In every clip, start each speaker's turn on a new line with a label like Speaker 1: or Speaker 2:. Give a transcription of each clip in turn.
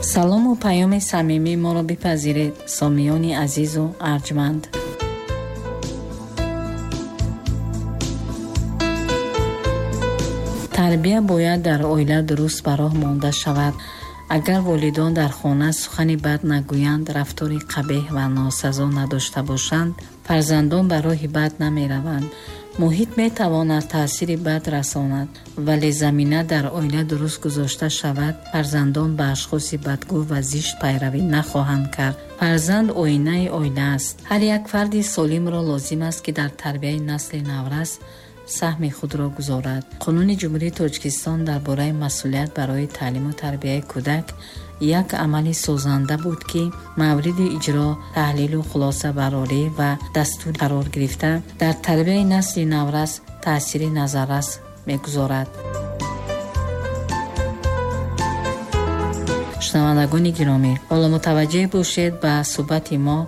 Speaker 1: Салому паёми самимии моро бипазиред, сомиёни азизу арҷманд. Тарбия бояд дар оила дуруст ба роҳ монда шавад. Агар волидон дар хона сухани бад нагӯянд, рафтори қабеҳ ва носазо надошта бошанд, фарзандон ба роҳи бад намераванд. Муҳит метавонад таъсири бад расонад, вале замина дар оила дуруст гузошта шавад, фарзандон ба ашхоси бадгӯ ва зишт пайравӣ нахоҳанд кард. Фарзанд оинаи оила аст. Ҳар як фарди солимро лозим аст, ки дар тарбияи насли наврас саҳми худро гузорад. Қонуни Ҷумҳурии Тоҷикистон дар бораи масъулият барои таълиму тарбияи кӯдак як амали созанда буд, ки мавриди иҷро, таҳлилу хулосабарорӣ ва дастур қарор гирифта дар тарбияи насли наврас таъсири назаррас мегузорад. Шунавандагони гиромӣ, ҳоло мутаваҷҷеҳ бошед ба суҳбати мо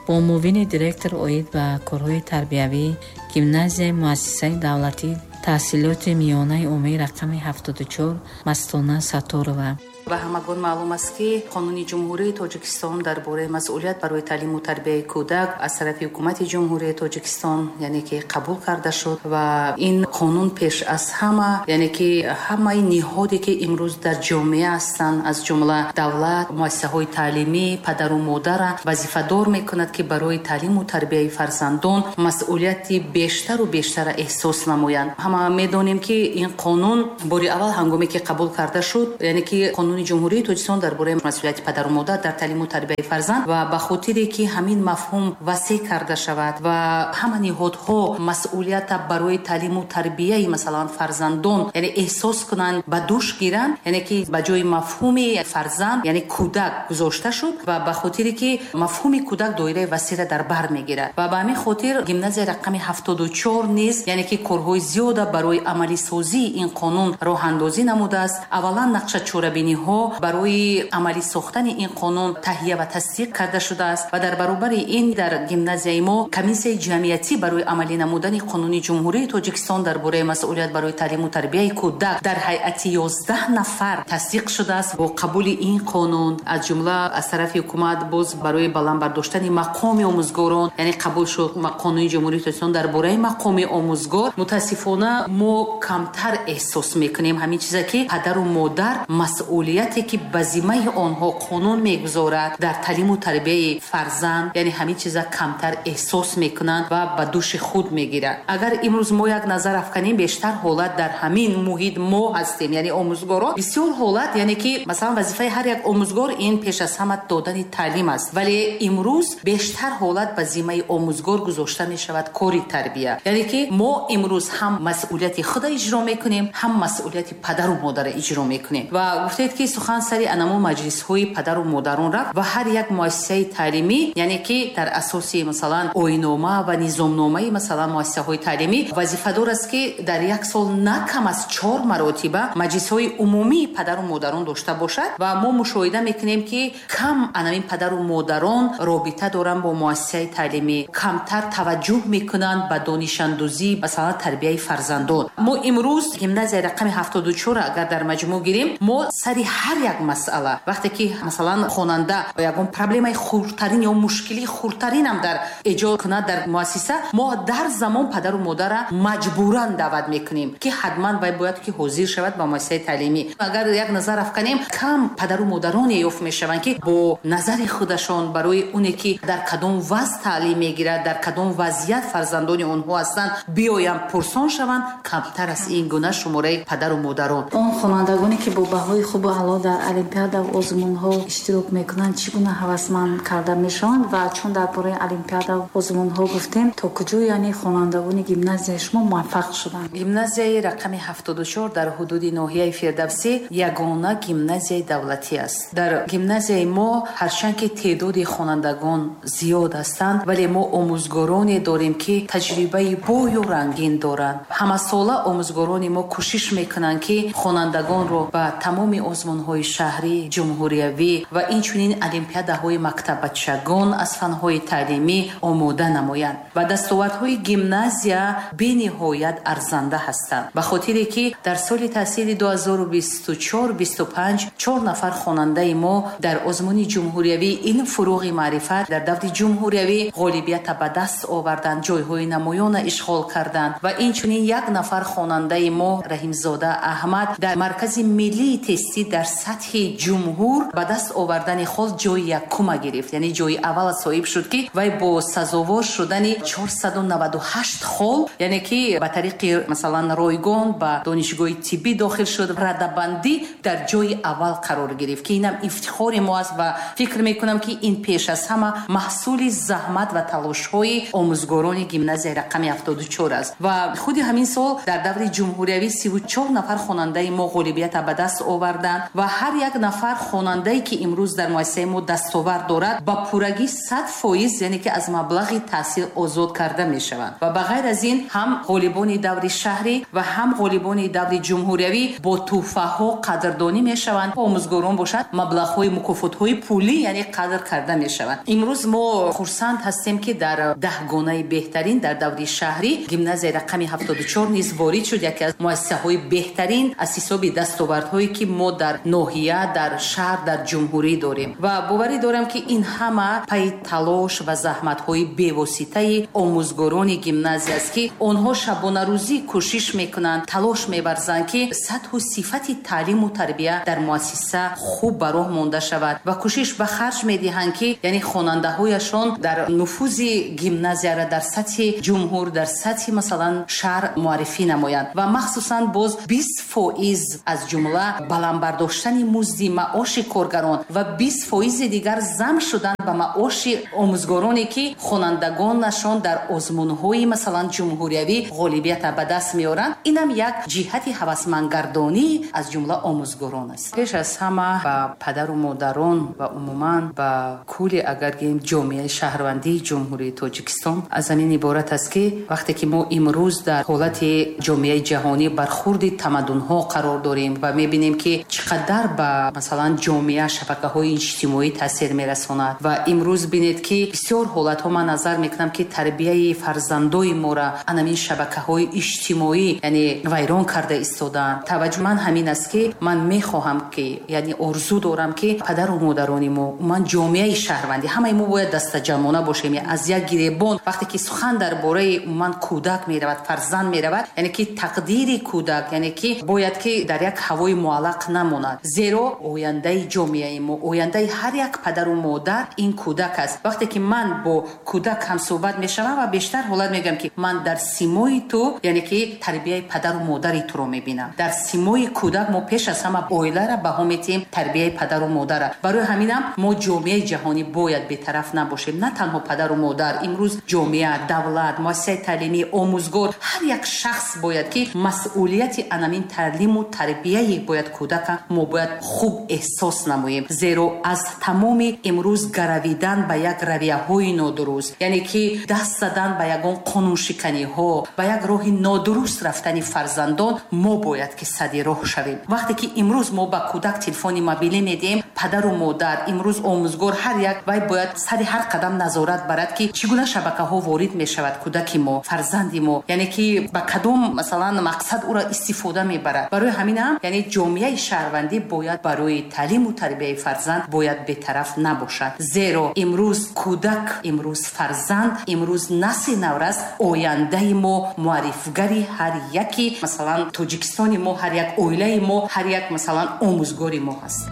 Speaker 1: бо муовини директор оид ба корҳои тарбиявӣ гимназияи муассисаи давлатии таҳсилоти миёнаи умумӣ рақами 74 Мастона Сатторова.
Speaker 2: Ба ҳамагон маълум аст, ки Қонуни Ҷумҳурии Тоҷикистон дар бораи масъулият барои таълиму тарбияи кӯдак аз тарафи Ҳукумати Ҷумҳурии Тоҷикистон, яъне ки қабул карда шуд ва ин қонун пеш аз ҳама, яъне ки ҳамаи ниҳоде, ки имрӯз дар ҷомеа ҳастанд, аз ҷумла давлат, муассисаҳои таълимӣ, падару модара вазифадор мекунад, ки барои таълиму тарбияи фарзандон масъулияти бештару бештара эҳсос намоянд. Ҳама медонем, ки ин қонун бори аввал ҳангоме ки қабул карда шуд, яъне ки қонуни Ҷумҳурии Тоҷикистон дар бораи масъулияти падару модар дар таълиму тарбияи фарзанд, ва ба хотире ки ҳамин мафҳум васеъ карда шавад ва ҳама ниҳодҳо масъулията барои таълиму тарбияи масалан фарзандон, яъне эҳсос кунанд, ба дӯш гиранд, яъне ки ба ҷои мафҳуми фарзанд, яъне кӯдак гузошта шуд ва ба хотире ки мафҳуми кӯдак доираи васеъра дар бар мегирад ва ба ҳамин хотир гимназияи рақами 74 низ, яъне ки корҳои зиёда барои амалисозии ин қонун роҳандозӣ намудааст. Аввалан нақша чорабиниҳо барои амалӣ сохтани ин қонун таҳия ва тасдиқ карда шудааст ва дар баробари ин дар гимназияи мо комиссияи ҷамъиятӣ барои амалӣ намудани Қонуни Ҷумҳурии Тоҷикистон дар бораи масъулият барои таълиму тарбияи кӯдак дар ҳайати 11 нафар тасдиқ шудааст. Бо қабули ин қонун аз ҷумла аз тарафи ҳукумат боз барои баланд бардоштани мақоми омӯзгорон, яъне қабул шуд Қонуни Ҷумҳурии Тоҷикистон дар бораи мақоми омӯзгор. Мутаассифона мо камтар эҳсос мекунем ҳамин чиза, ки падару модар масъулияте ки ба зиммаи онҳо қонун мегузорад дар таълиму тарбияи фарзанд, яъне ҳамин чиза камтар эҳсос мекунанд ва ба дӯши худ мегиранд. Агар имрӯз мо як назар афканем, бештар ҳолат дар ҳамин муҳит мо ҳастем, яъне омӯзгорон. Бисёр ҳолат, яъне ки масалан вазифаи ҳар як омӯзгор ин пеш аз ҳама додани таълим аст, вале имрӯз бештар ҳолат ба зиммаи омӯзгор гузошта мешавад кори тарбия. Яъне ки мо имрӯз ҳам масъулияти худа иҷро мекунем, ҳам масъулияти падару модарро иҷро мекунем. Ва гуфтед ки сухан сари анамо маҷлисҳои падару модарон рафт ва ҳар як муассисаи таълимӣ, яъне ки дар асоси масалан оинома ва низомномаи масалан муассисаҳои таълимӣ вазифадор аст, ки дар як сол на кам аз 4 маротиба маҷлисҳои умумии падару модарон дошта бошад. Ва мо мушоҳида мекунем, ки кам анамин падару модарон робита доранд бо муассисаи таълимӣ, камтар таваҷҷӯҳ мекунанд ба донишандӯзӣ, масалан тарбияи фарзандон. Мо имрӯз гимназияи рақами 74 агар дар маҷмӯъ гирем, мо сари ҳар як масъала, вақте ки масалан хонанда ягон проблемаи хурдтарин ё мушкили хурдтаринам дар эҷод кунад дар муассиса, мо дар замон падару модарра маҷбуран даъват мекунем, ки ҳатман вай бояд ки ҳозир шавад ба муассисаи таълимӣ. Агар як назар афканем, кам падару модароне ёфт мешаванд, ки бо назари худашон барои оне ки дар кадом вазъ таълим мегирад, дар кадом вазъият фарзандони онҳо ҳастанд, биёянд пурсон шаванд. Камтар аст ин гуна шумораи падару модарон.
Speaker 3: Он хонандагоне ки бо баҳои хубу аъло дар олимпиада ва озмунҳо иштирок мекунанд, чӣ гуна ҳавасманд карда мешаванд? Ва чун дар бораи олимпиада ва озмунҳо гуфтем, то куҷо яъне хонандагони гимназияи шумо муваффақ шуданд?
Speaker 2: Гимназияи рақами 74 дар ҳудуди ноҳияи Фирдавсӣ ягона гимназияи давлатӣ аст. Дар гимназияи мо ҳарчанд ки теъдоди хонандагон зиёд ҳастанд, вале мо омӯзгороне дорем, ки таҷрибаи бою рангин доранд. Ҳамасола омӯзгорони мо кӯшиш мекунанд, ки хонандагонро ба тамоми озмун озмунҳои шаҳрӣ, ҷумҳуриявӣ ва инчунин олимпиадаҳои мактаббачагон аз фанҳои таълимӣ омода намоянд. Ва дастовардҳои гимназия бениҳоят арзанда ҳастанд, ба хотире ки дар соли таҳсили 2024-25 4 нафар хонандаи мо дар озмуни ҷумҳуриявии илм фурӯғи маърифат дар даври ҷумҳуриявӣ ғолибията ба даст оварданд, ҷойҳои намоёна ишғол карданд. Ва инчунин 1 нафар хонандаи мо Раҳимзода Аҳмад дар маркази миллии тестӣ дар сатҳи ҷумҳур ба даст овардани хол ҷои якума гирифт, яъне ҷои аввала соҳиб шуд, ки вай бо сазовор шудани 498 хол, яъне ки ба тариқи масалан ройгон ба донишгоҳи тиббӣ дохил шуд, радабандӣ дар ҷои аввал қарор гирифт, ки инам ифтихори мо аст ва фикр мекунам, ки ин пеш аз ҳама маҳсули заҳмат ва талошҳои омӯзгорони гимназияи рақами 74 аст. Ва худи ҳамин сол дар даври ҷумҳуриявӣ 34 нафар хонандаи мо ғолибията ба даст оварданд ва ҳар як нафар хонандае, ки имрӯз дар муассисаи мо дастовард дорад, ба пуррагӣ 100%, яъне ки аз маблағи таҳсил озод карда мешаванд. Ва ба ғайр аз ин ҳам ғолибони даври шаҳрӣ ва ҳам ғолибони даври ҷумҳуриявӣ бо тӯҳфаҳо қадрдонӣ мешаванд. Омӯзгорон бошад, маблағҳои мукофотҳои пулӣ, яъне қадр карда мешаванд. Имрӯз мо хурсанд ҳастем, ки дар 10 гонаи беҳтарин дар даври шаҳрӣ гимназияи рақами 74 низ ворид шуд, яке аз муассисаҳои беҳтарин аз ҳисоби дастовардҳое, ки мо дар ноҳия, дар шаҳр, дар ҷумҳурӣ дорем. Ва боварӣ дорам, ки ин ҳама пайи талош ва заҳматҳои бевоситаи омӯзгорони гимназия аст, ки онҳо шабонарӯзӣ кӯшиш мекунанд, талош меварзанд, ки сатҳу сифати таълиму тарбия дар муассиса хуб ба роҳ монда шавад ва кӯшиш ба харҷ медиҳанд, ки яъне хонандаҳояшон дар нуфузи гимназияра дар сатҳи ҷумҳур, дар сатҳи масалан шаҳр муаррифӣ намоянд. Ва махсусан боз 20% аз ҷумла баланд бардоштани музди маоши коргарон ва 20% дигар зам шудан ба маоши омӯзгороне, ки хонандагонашон дар озмунҳои масалан ҷумҳуриявӣ ғолибията ба даст меоранд, инам як ҷиҳати ҳавасмандгардонӣ аз ҷумла омӯзгорон аст. Пеш аз ҳама ба падару модарон ва умуман ба кулли, агар гӯем, ҷомеаи шаҳрвандии Ҷумҳурии Тоҷикистон аз ҳамин иборат аст, ки вақте ки мо имрӯз дар ҳолати ҷомеаи ҷаҳонӣ бархурди тамаддунҳо қарор дорем ва мебинем, ки чӣ қадар ба масалан ҷомеа шабакаҳои иҷтимоӣ таъсир мерасонад. Ва имрӯз бинед, ки бисёр ҳолатҳо ман назар мекунам, ки тарбияи фарзандои моро анамин шабакаҳои иҷтимоӣ, яъне вайрон карда истодаанд. Таваҷҷӯҳи ман ҳамин аст, ки ман мехоҳам, ки яъне орзу дорам, ки падару модарони мо, умуман ҷомеаи шаҳрвандӣ, ҳамаи мо бояд дастаҷамъона бошем, аз як гиребон. Вақте ки сухан дар бораи умуман кӯдак меравад, фарзанд меравад, яъне ки тақдири кӯдак, яъне ки бояд ки дар як ҳавои муаллақ намонад, зеро ояндаи ҷомеаи мо, ояндаи ҳар як падару модар ин кӯдак аст. Вақте ки ман бо кӯдак ҳамсӯҳбат мешавам ва бештар ҳолат мегӯям, ки ман дар симои ту, яъне ки тарбияи падару модари туро мебинам. Дар симои кӯдак мо пеш аз ҳама оилара баҳо метиҳем, тарбияи падару модара. Барои ҳаминам мо ҷомеаи ҷаҳонӣ бояд бетараф набошем. На танҳо падару модар, имрӯз ҷомеа, давлат, муассисаи таълимӣ, омӯзгор, ҳар як шахс бояд ки масъулияти анамин таълиму тарбияи бояд кӯдака мо бояд хуб эҳсос намоем, зеро аз тамоми имрӯз гаравидан ба як равияҳои нодуруст, яъне ки даст задан ба ягон қонуншиканиҳо, ба як роҳи нодуруст рафтани фарзандон мо бояд ки сади роҳ шавем. Вақте ки имрӯз мо ба кӯдак телефони мобилӣ медиҳем, падару модар, имрӯз омӯзгор, ҳар як вай бояд сари ҳар қадам назорат барад, ки чӣ гуна шабакаҳо ворид мешавад кӯдаки мо, фарзанди мо, яъне ки ба кадом масалан мақсад ӯро истифода мебарад. Барои ҳамин ҳам яъне ҷомеаи шаҳрвандӣ бояд барои таълиму тарбияи фарзанд бояд бетараф набошад, зеро имрӯз кӯдак, имрӯз фарзанд, имрӯз насли наврас ояндаи мо, муаррифгари ҳар яки масалан Тоҷикистони мо, ҳар як оилаи мо, ҳар як масалан омӯзгори мо ҳаст.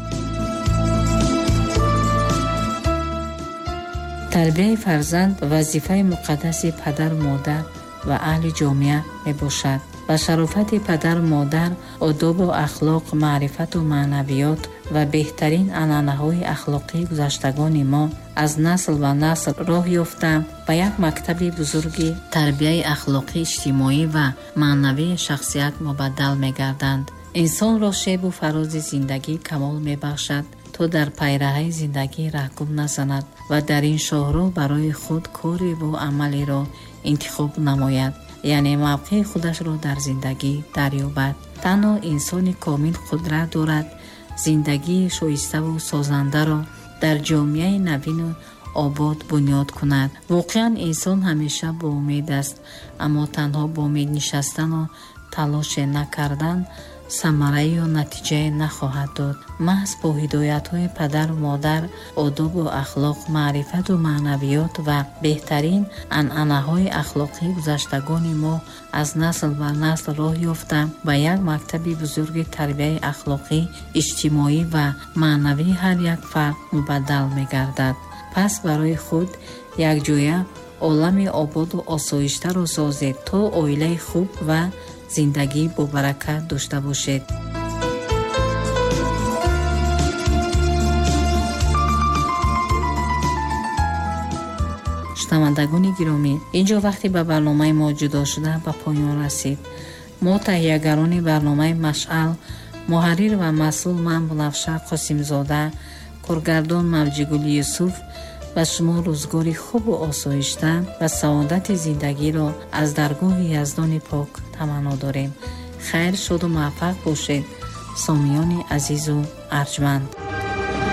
Speaker 1: Тарбияи фарзанд вазифаи муқаддаси падару модар ва аҳли ҷомеа мебошад. Ба шарофати падару модар одобу ахлоқ, маърифату маънавиёт ва беҳтарин анъанаҳои ахлоқии гузаштагони мо аз насл ба насл роҳ ёфта, ба як мактаби бузурги тарбияи ахлоқӣ, иҷтимоӣ ва маънавии шахсият мубаддал мегарданд. Инсонро шебу фарози зиндагӣ камол мебахшад, то дар пайраҳаи зиндагӣ раҳгум назанад ва дар ин шоҳроҳ барои худ кореву амалеро интихоб намояд, яъне мавқеи худашро дар зиндагӣ дарёбад. Танҳо инсони комил қудрат дорад Зиндагии шоиставу созандаро дар ҷомеаи навину обод бунёд кунад. Воқеан, инсон ҳамеша бо умед аст, аммо танҳо бо умед нишастану талоше накардан самараю натиҷае нахоҳад дод. Маҳз бо ҳидоятҳои падару модар, одобу ахлоқ, маърифату маънавиёт ва беҳтарин анъанаҳои ахлоқии гузаштагони мо аз насл ба насл роҳ ёфта, ба як мактаби бузурги тарбияи ахлоқӣ, иҷтимоӣ ва маънавии ҳар як фард мубаддал мегардад. Пас барои худ якҷоя олами ободу осоиштаро созед, то оилаи хуб ва зиндагии бобаракат дошта бошед. Шунавандагони гиромӣ, инҷо вақте ба барномаи мо ҷудо шуда ба поён расид. Мо, таҳиягарони барномаи Машъал, муҳаррир ва масъул ман, Бунафша Қосимзода, коргардон Мавҷигули Юсуф, ба шумо рӯзгори хубу осоишта ва саодати зиндагиро аз даргоҳи Яздони пок таманно дорем. Хайр, шоду муваффақ бошед, сомиёни азизу арҷманд.